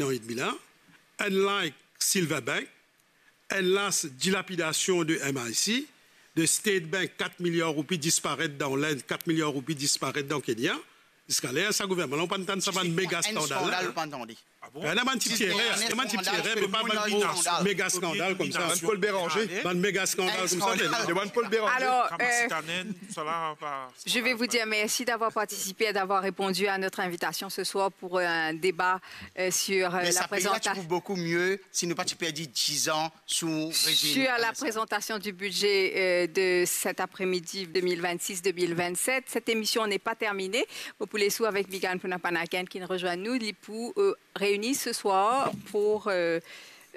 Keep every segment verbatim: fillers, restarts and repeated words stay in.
an edmi la, unlike Silver Bank, unless dilapidasion de M I C, de State Bank, kat miliar roupi disparet dan Lind, kat miliar roupi disparet dan Kenya, ziska ler sa gouvernman la, ou pa tann sa bann mega skandal la. Enn skandal, ou pa tande. Ah bon? Ena bann ti erer, ena bann ti erer, me pa bann gro mega skandal koumsa. Bann Paul Béranger. Bann mega skandal koumsa, me non. Bann Paul Béranger. Alors, euh, je vais vous dire merci d'avoir participé et d'avoir répondu à notre invitation ce soir pour un débat, euh, sur, euh, la présentation. Mais sa pei la ti pou boukou mie si nou pa ti perdi diz an sou rezim M S N. Sur la présentation du budget, euh, de cet après-midi deux mille vingt-six deux mille vingt-sept. Cette émission n'est pas terminée. Mo pou les ou avek Migan Punapanakain ki rejoint nou, li pou, euh, réunir ce soir pour, euh,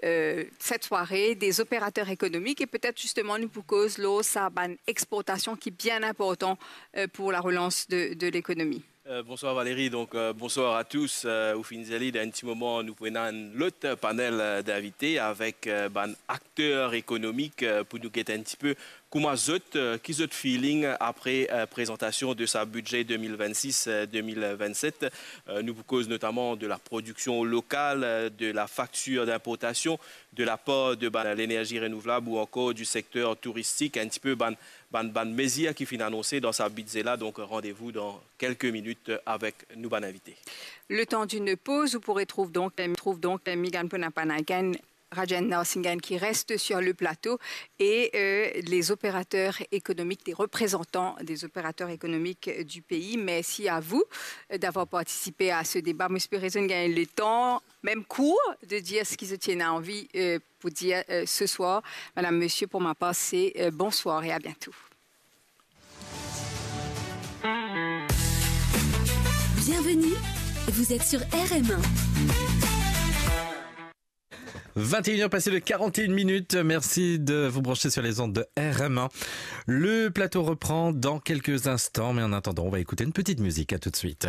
euh, cette soirée des opérateurs économiques et peut-être justement nou pou koz lor sa bann exportasion ki bien inportan, euh, pour la relance de, de l'économie. Euh, bonsoir Valérie, donc, euh, bonsoir à tous. Euh, ou finn dir li, dan enn ti moman, nou pou ena enn lot panel, euh, d'invités avec, euh, bann acteurs économiques, euh, pou nou get enn ti pe kouma zot, euh, ki zot feeling apre, euh, prézantasion de sa budget deux mille vingt-six, euh, deux mille vingt-sept. Euh, nou pou koz notamment de la production locale, euh, de la facture d'importation, de la part de bann, l'énergie renouvelable ou encore du secteur touristique, enn ti pe bann, bann, bann mezir ki finn anonse dan sa bidze la. Donc, rendez-vous dans quelques minutes avec nou bann invité. Le temps d'une pause, vous pourrez trouve donc, trouve donc Migan Punapanakain, Rajen Narasimhan qui reste sur le plateau et, euh, les opérateurs économiques, des représentants des opérateurs économiques du pays. Merci à vous, euh, d'avoir participé à ce débat. Mo espere zot gagn le temps, même court, de dire ce ki zot ena anvi, euh, pou dir, euh, ce soir. Madame, monsieur, pour ma part, c'est, euh, bonsoir et à bientôt. Bienvenue, vous êtes sur R M un. Vingt et une heures passées de quarante et une minutes. Merci de vous brancher sur les ondes de R M un. Le plateau reprend dans quelques instants, mais en attendant, on va écouter une petite musique. À tout de suite.